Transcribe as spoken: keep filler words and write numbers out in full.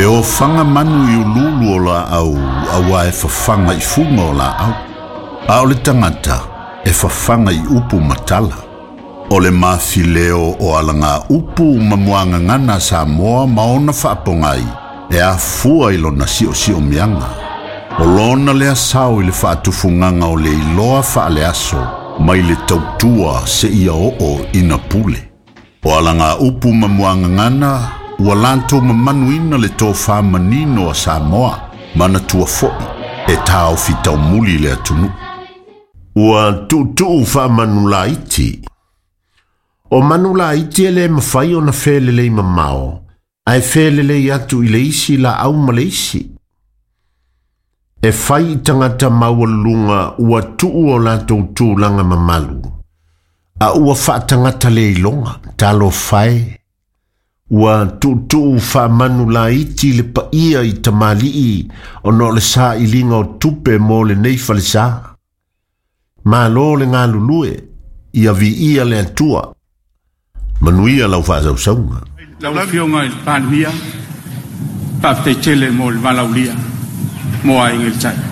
E ofaga manu i uluulu o laau auā e fafaga i fuga o laau. A o le tagata e fafaga i upu ma tala. O le mafileo o alaga upu ma muagagana a Samoa ma ona faapogai e afua i lona siosiomiaga. O lona lea sao i le faatufugaga o le iloa faaleaso mai le tautua seia oo ina pule. O alaga upu ma muagagana ua latou mamanuina le tofā manino a Samoa manatua foʻi e taofi taumuli le atunuu. Ua tuutuu faamanulaiti. O manulaiti e lē mafai ona felelei mamao, ae felelei atu i le isi laau ma le isi. E fai i tagata maualuluga ua tuu o latou tulaga mamalu, a ua faatagata le iloga, talofa e. Ua tuutuu faamanulaiti le paia i tamalii ona o le sailiga o tupe mo lenei falesā. Malo le galulue, ia viia le Atua. Manuia lau faasausauga. Lau Afioga i le Palemia, faafetai tele mo le valaaulia mo Aiga i le Tai.